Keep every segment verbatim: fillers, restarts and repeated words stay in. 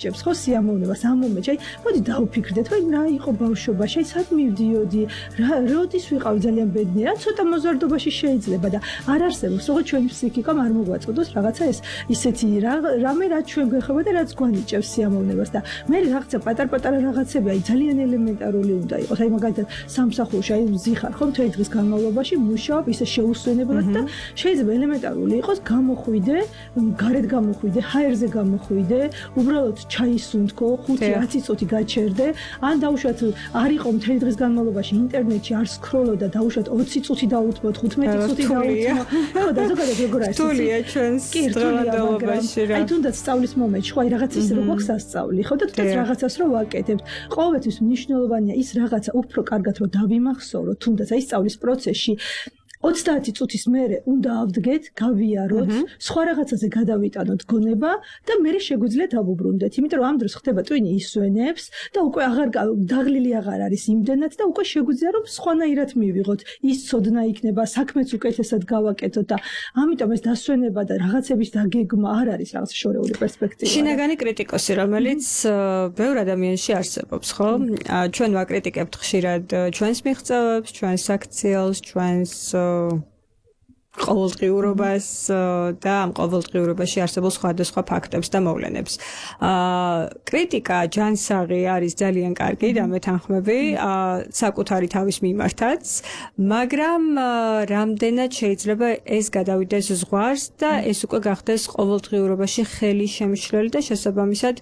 ჭებს ხო სიამოვნებას ამ მომენტში. მოდი დავფიქრდეთ, ვაი რა იყო ბავშვობაში, აი სად მივდიოდი, რა როდის ვიყავი ძალიან ბედნიერი, რა ცოტა მოზარდობაში შეიძლება და არ არსებობს, როგორც ჩვენი ფსიქიკამ არ მოგვაწოდოს რაღაცა ეს ისეთი რამე რაც ჩვენ გვეხება და რაც გვანიჭებს სიამოვნებას და მე რაღაცა პატარ-პატარა რაღაცები აი ძალიან ელემენტარული უნდა იყოს. აი მაგალითად სამსახურში აი ვზიხარ ხო მთელი დღის განმავლობაში მუშაობ ისე შეუსვენებლად და შეიძლება ელემენტარული იყოს გამოხვიდე, გარეთ გამოხვიდე, ჰაერზე გამოხვიდე, უბრალოდ ჩაისუნთქო, ხუთი ათი წუთი გაჩერდე, ან დაუშვათ არ იყო მთელი დღის განმავლობაში ინტერნეტში არ სკროლო და დაუშვათ ოცი წუთი დაუთმო, თხუთმეტი წუთი დაუთმო. ხო და ზოგადად როგორ არის? თულია ჩვენს დღევანდელობაში რა. აი თუნდაც სწავლის მომენტში, ხო აი რაღაც ის რო გვაქვს სასწავლი, ხო და თუნდაც რაღაცას რო ვაკეთებთ. ყოველთვის მნიშვნელოვანია ის რაღაცა უფრო კარგად რო დავიმახსოვროთ, თუნდაც აი სწავლის პროცესში ოცდაათი წუთის მერე უნდა ავდგეთ, გავიაროთ, სხვა რაღაცაზე გადავიტანოთ გონება და მერე შეგვიძლია დავუბრუნდეთ. იმიტომ რომ ამ დროს ხდება ტვინი ისვენებს და უკვე აღარ დაღლილი აღარ არის იმდენად და უკვე შეგვიძლია რომ სხვანაირად მივიღოთ. ის ცოდნა იქნება, საქმეც უკეთესად გავაკეთოთ და ამიტომ ეს დასვენება და რაღაცების დაგეგმა არ არის რაღაც შორეული პერსპექტივა. შინაგანი კრიტიკოსი, რომელიც ბევრ ადამიანში არსებობს, ხო? ჩვენ ვაკრიტიკებთ ხშირად ჩვენს მიღწევებს, ჩვენს აქციელს, ჩვენს ყოველდღიურობას და ამ ყოველდღიურობაში არსებულ სხვადასხვა ფაქტებს და მოვლენებს. კრიტიკა ჯანსაღი არის ძალიან კარგი და მეთანხმები საკუთარი თავის მიმართაც, მაგრამ რამდენად შეიძლება ეს გადავიდეს ზღვარს და ეს უკვე გახდეს ყოველდღიურობაში ხელი შემშლელი და შესაბამისად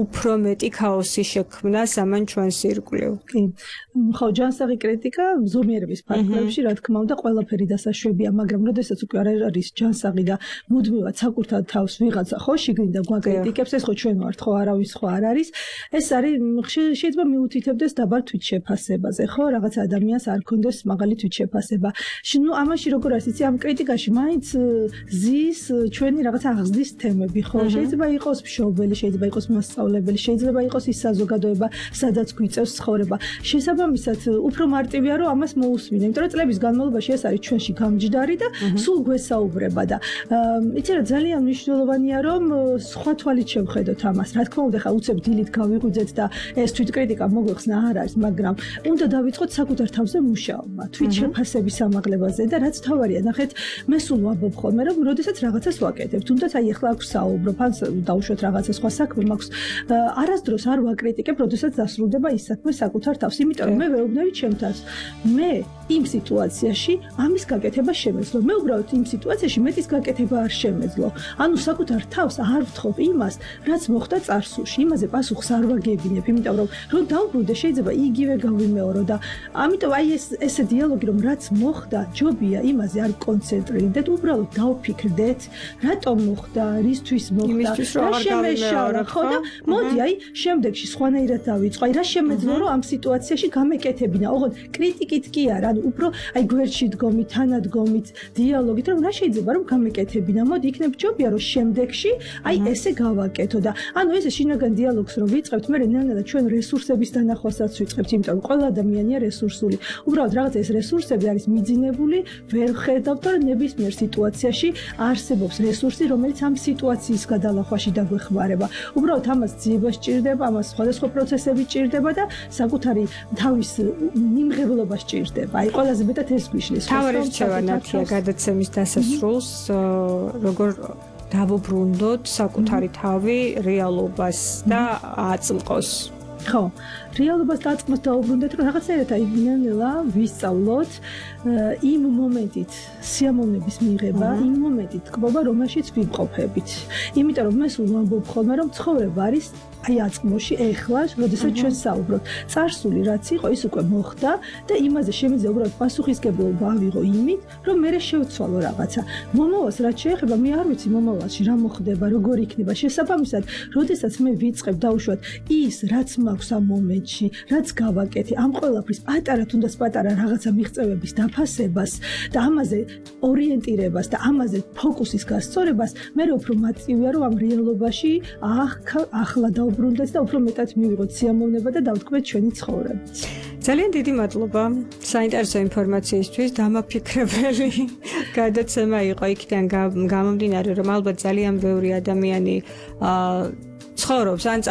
უფრო მეტი ქაოსი შექმნა ამან ჩვენს ირგვლივ. კი. ხო, ჯანსაღი კრიტიკა ზომიერების ფარგლებში რა თქმა უნდა ყველაფერი დასაშვებია, მაგრამ როდესაც უკვე არ არის ჯანსაღი და მუდმივად საკუთარ თავს ვიღაცა ხო შიგნიდან გვაკრიტიკებს, ეს ხო ჩვენ ვართ, ხო არავის ხო არ არის. ეს არის შეიძლება მიუთითებდეს დაბალ თვითშეფასებაზე, ხო, რაღაც ადამიანს არ ქონდეს მაღალი თვითშეფასება. ნუ ამაში როგორ არის, იცი, ამ კრიტიკაში მაინც ზის ჩვენი რაღაცა აღზრდის თემები, ხო? შეიძლება იყოს მშობელი, შეიძლება იყოს მასწავლებელი, შეიძლება იყოს ის საზოგადოება, სადაც გვიწევს ცხოვრება. შესაბამისად, უფრო მარტივია რომ ამას მოусმინე, იმიტომ რომ წლების განმავლობაში ეს არის ჩვენში გამჯდარი და სულ გვესაუბრება და იცი რა ძალიან მნიშვნელოვანია რომ სხვა თვალით შევხედოთ ამას. რა თქმა უნდა, ხა უცებ დილით გავიღვიძეთ და ეს თვითკრიტიკა მოგვეხსნა არ არის, მაგრამ უნდა დავიწყოთ საკუთარ თავზე მუშაობა, თვითშეფასების ამაღლებაზე და რაც თავარია, ნახეთ, მე სულ ვამბობ ხოლმე რომ როდესაც რაღაცას ვაკეთებ, თუნდაც აი ახლა აქვს საუბრო, ფანს დავუშვათ რაღაცა სხვა საქმე მაქვს, არასდროს არ ვაკრიტიკებ, როდესაც დასრულდება ის საქმე საკუთარ თავს, იმიტომ რომ მე ვეუბნები ჩემ თავს. მე იმ სიტუაციაში ამის გაკეთება შემეძლო. მე უბრალოდ იმ სიტუაციაში მეტის გაკეთება არ შემეძლო. ანუ საკუთარ თავს არ ვთხოვ იმას, რაც მოხდა წარსულში. იმაზე პასუხს არ ვაგებინებ, იმიტომ რომ რომ დავბრუნდე შეიძლება იგივე გავიმეორო და ამიტომ აი ეს ესე დიალოგი რომ რაც მოხდა, ჯობია იმაზე არ კონცენტრირდეთ, უბრალოდ დავფიქრდეთ, რატომ მოხდა, რისთვის მოხდა, რა შემეშალა, ხო და მოდი აი შემდეგში სხვანაირად დავიწყო. აი რა შემეძლო რომ ამ სიტუაციაში გამეკეთებინა. ოღონდ კრიტიკით კი არა, ანუ უფრო აი გვერდში დგომით, თანადგომით, დიალოგით, რომ რა შეიძლება რომ გამეკეთებინა. მოდი იქნებ ჯობია რომ შემდეგში აი ესე გავაკეთო და ანუ ესე შინაგან დიალოგს რომ ვიწყებთ, მე ნელ-ნელა ჩვენ რესურსების დანახვასაც ვიწყებთ, იმიტომ რომ ყველა ადამიანია რესურსული. უბრალოდ რაღაც ეს რესურსები არის მიძინებული, ვერ ხედავთ, რომ ნებისმიერ სიტუაციაში არსებობს რესურსი, რომელიც ამ სიტუაციის გადალახვაში დაგვეხმარება. უბრალოდ ამას ძიება სჭირდება, ამას სხვადასხვა პროცესები სჭირდება და საკუთარი თავის მიმღებლობა სჭირდება. აი ყველაზე მეტად ეს გვიშლის. თავი რჩევა ნათია გადაცემის დასასრულს, როგორ დავუბრუნდოთ საკუთარი თავი რეალობას და აწმყოს. ხო, რეალობას დაწყმოს დაუბრუნდეთ, რომ რაღაცაერად აი ნელ-ნელა ვისწავლოთ იმ მომენტით სიამოვნების მიღება, იმ მომენტით თქობა, რომელშიც ვიმყოფებით. იმიტომ რომ მე სულ ვამბობ ხოლმე, რომ ცხოვრება არის აი აწმოში, ეხლა, როდესაც ჩვენ საუბრობთ. წარსული რაც იყო, ის უკვე მოხდა და იმაზე შემიძლია უბრალოდ პასუხისგებლობა ავიღო იმით, რომ მე შევცვალო რაღაცა. მომავალს რაც შეეხება, მე არ ვიცი მომავალში რა მოხდება, როგორ იქნება. შესაბამისად, როდესაც მე ვიწყებ დავუშვათ ის, რაც მაქვს ამ მომენტში, რაც გავაკეთე, ამ ყველაფრის პატარა თუნდაც პატარა რაღაცა მიღწევების დაფასებას და ამაზე ორიენტირებას და ამაზე ფოკუსის გასწორებას, მე უფრო მარტივია რომ ამ რეალობაში ახლა დავუბრუნდეთ და უფრო მეტად მივიღოთ სიამოვნება და დავთქვეთ ჩვენი ცხოვრება. ძალიან დიდი მადლობა საინტერესო ინფორმაციისთვის, დამაფიქრებელი გადაცემა იყო იქიდან გამომდინარე, რომ ალბათ ძალიან ბევრი ადამიანი ცხოვრობს ან